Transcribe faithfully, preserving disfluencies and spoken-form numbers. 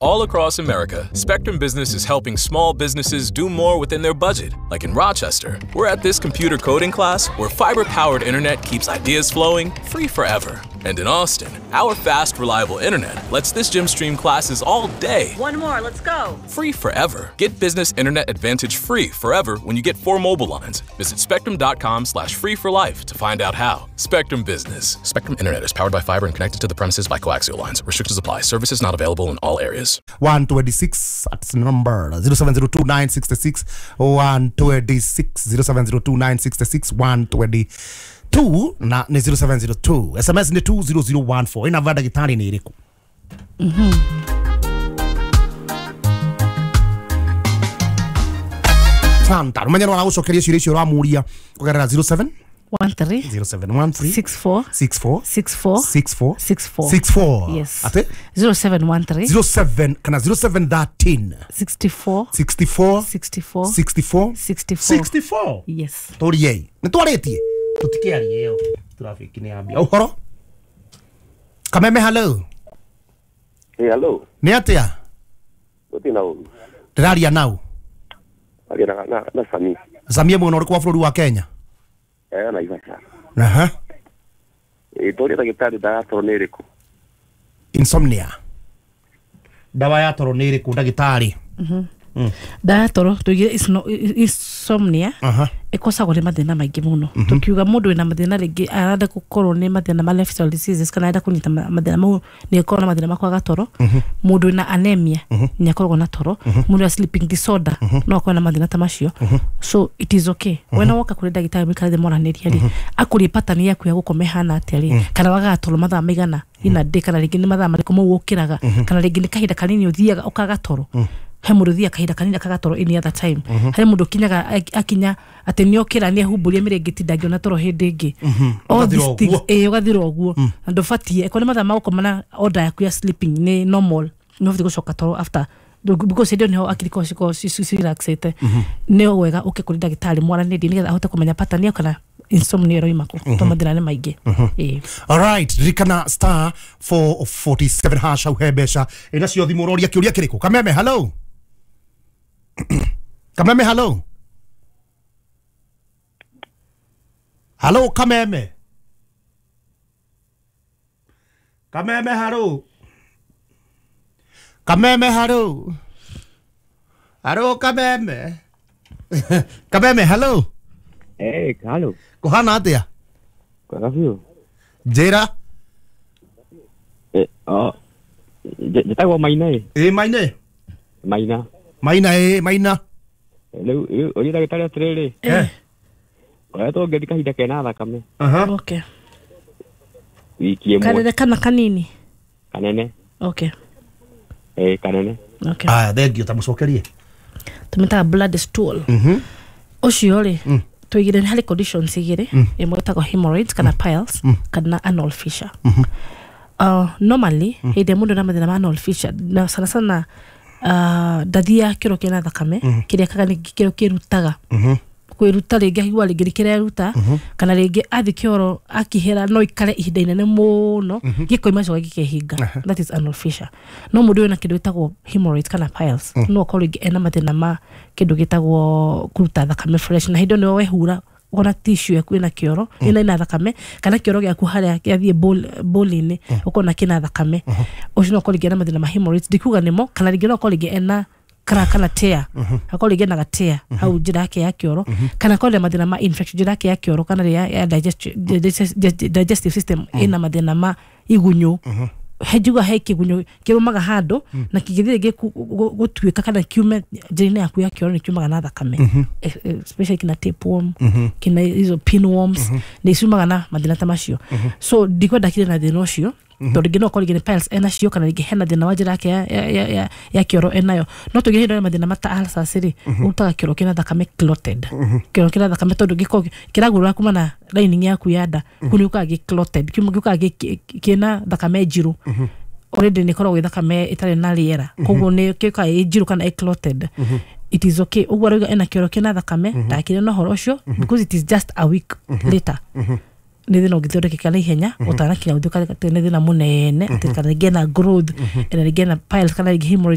All across America, Spectrum Business is helping small businesses do more within their budget. Like in Rochester, we're at this computer coding class where fiber-powered internet keeps ideas flowing free forever. And in Austin, our fast, reliable internet lets this gym stream classes all day. One more, let's go. Free forever. Get business internet advantage free forever when you get four mobile lines. Visit spectrum.com slash free for life to find out how. Spectrum Business. Spectrum Internet is powered by fiber and connected to the premises by coaxial lines. Restrictions apply. Services not available in all areas. one twenty-six, that's number zero seven zero two nine six six one twenty-six zero seven zero two nine six six one twenty-two na ni zero seven zero two S M S ni two zero zero one four ina vada gitari ni iriku. Mhm. Santa rumenya no aragucokeria ciũria icio ũramuria kũgerera zero seven one three zero seven one three six four six four six four six four six four six four. Yes. Ate? zero seven one three zero seven kana zero seven thirteen sixty-four sixty-four sixty-four sixty-four sixty-four sixty-four. Yes. Toriei. Nĩ twarĩtie. Tũtikĩarie ĩyo. Traffic nĩ ambia. Ũhoro? Kameme hello. Hey, hello. Nĩ atĩa? Gũtirĩ na ũru. Ndĩraria nau. Aria na na na Sami. Samia mũno ũrĩkũ wa bũrũri wa Kenya? Eh, na Naivasha. Aha. Eh, tori ndagĩtarĩ ndawa ya toro nĩ ĩrĩkũ? Insomnia. Ndawa ya toro nĩ ĩrĩkũ ndagĩtarĩ? Mhm. Ndawa ya toro tuige insomnia. Aha. Ĩkosagwo nĩ mathĩna maingĩ mũno. Tukiuga mũndũ wĩna mathĩna rĩngĩ arenda gũkorwo nĩ mathĩna ma lifestyle diseases kana arenda kũnyita mathĩna mau nĩ akorwo na mathĩna ma kwaga toro. Mũndũ wĩna anemia nĩ akoragwo na toro. Mũndũ wa sleeping disorder no akorwo na mathĩna ta macio. So it is okay. Wena woka kũrĩ ndagĩtarĩ mũikare thĩ mwaranĩrie rĩ, akũrie pattern yaku ya gũkoma ĩhana atĩa rĩ, kana wagaga toro mathaa maigana ina day, kana rĩngĩ nĩ mathaa marĩkũ mau ũkĩraga, kana rĩngĩ nĩ kahinda kanini ũthiaga ũkaga toro. He mũndũ ũthiaga kahinda kanini akaga toro any other time. Harĩ mũndũ ũkinyaga akinya atĩ nĩ okĩra nĩ ehumbũria mĩrĩngĩti ndangĩona toro hĩndĩ ĩngĩ. All these things, ĩĩ ũgathira ũguo. Na ndũbatiĩ, ĩkorwo nĩ mathaa ma gũkoma na order yaku ya sleeping nĩ normal, nĩ ũbatiĩ gũcoka toro after because hĩndĩ ĩyo nĩho akiri ikoragwo cikoragwo cirelaxĩte. Nĩ wega ũke kũrĩ ndagĩtarĩ mwaranĩrie nĩgetha ahote kũmenya pattern yaku kana insomnia ĩroima kũ, tondũ mathĩna nĩ maingĩ. Ĩĩ. All right, ririkana star four forty-seven hash hau he mbeca. Ĩna cio thimũ ũroria kĩũria kĩrĩkũ? Kameme hello. Kameme hello. Hello Kameme. Kameme hello. Kameme hello. Hello Kameme. Kameme hello. Eh, hello. Kuhana atia? Kwega biũ. Njĩra. Eh, oh. Njĩtagwo Maina ĩ. Ĩ Maina. Maina. Maina ĩ Maina. Rĩu rĩu ũria ndagĩtarĩ atĩrĩrĩ. Eh. Ngoretwo ngĩthi kahinda kena thakame. Aha. Okay. Wiki ĩmwe. Kanene kana kanini? Kanene. Okay. Eh, kanene. Okay. Aya, thank you, tamũcokerie. Tũmĩtaga blood stool. Mhm. Ũcio rĩ, tuigire harĩ conditions igĩrĩ, ĩmwe ĩtagwo hemorrhoids kana piles kana anal fissure. Uh, normally hĩndĩ ĩrĩa mũndũ ena mathĩna ma anal fissure na sana sana uh, ndathiaga kĩro kĩna thakame kĩrĩa kaga nĩ kĩro kĩrutaga kwĩruta rĩngĩ aigua rĩngĩ nĩ kĩreruta kana rĩngĩ athi kĩoro akihera no ikare ihinda inene mũno gĩkoima gĩcoka gĩkehinga. That is anal fissure. No mũndũ wĩna kĩndũ gĩtagwo hemorrhoids kana piles no akorwo rĩngĩ ena mathĩna ma kĩndũ gĩtagwo kũruta thakame fresh, na hĩndĩ ĩyo nĩwe wehura ũkona tissue yaku ĩna kĩoro ĩna ina thakame kana kĩoro gĩaku harĩa gĩathiĩ ball-inĩ ũkona kĩna thakame. Ũcio no akorwo rĩngĩ ena mathĩna ma hemorrhoids, ndikuga nĩmo, kana rĩngĩ no akorwo rĩngĩ ena crack kana tear, akorwo rĩngĩ ena gatear hau njĩra yake ya kĩoro, kana akorwo na mathĩna ma infection njĩra yake ya kĩoro kana ya digestive system ĩna mathĩna ma igunyũ. He njuga he kĩgunyũ kĩrũmaga handũ na kĩngĩthiĩ rĩngĩ gũtuĩka kana kiume njĩra-inĩ yaku ya kĩoro nĩ kiumaga na thakame, especially kina tapeworm, kina hizo pinworms, nĩ ciumaga na mathĩna ta macio. So ndikwenda kire na thĩna ũcio tondũ rĩngĩ no akorwo rĩngĩ nĩ piles enacio kana rĩngĩ hena thĩna wa njĩra yake ya, ya, ya, ya kĩoro enayo. No tũngĩ hĩndĩ mathĩna mata ulcers rĩ, ũrutaga kĩoro kĩna thakame clotted, kĩoro kĩna thakame tondũ gĩkoragwo kĩragũrũra kuma na lining yaku ya nda kũu nĩ gĩũkaga gĩ clotted, gĩũkaga kĩna thakame njirũ. Already nĩ ĩkoragwo ĩ thakame ĩtarĩ na rĩera, koguo nĩ gĩũkaga ĩ njirũ kana ĩ clotted. It is okay. Ũguo arauga ena kĩoro kĩna thakame ndakire na ũhoro ũcio because it is just a week later. Nä thä na å ngä thondekeka na ihenya ũtanakinya gũtuĩka atĩ nĩ thĩna mũnene, atĩ kana rĩngĩ ena growth, ena rĩngĩ ena piles, kana rĩngĩ hemorrhoids.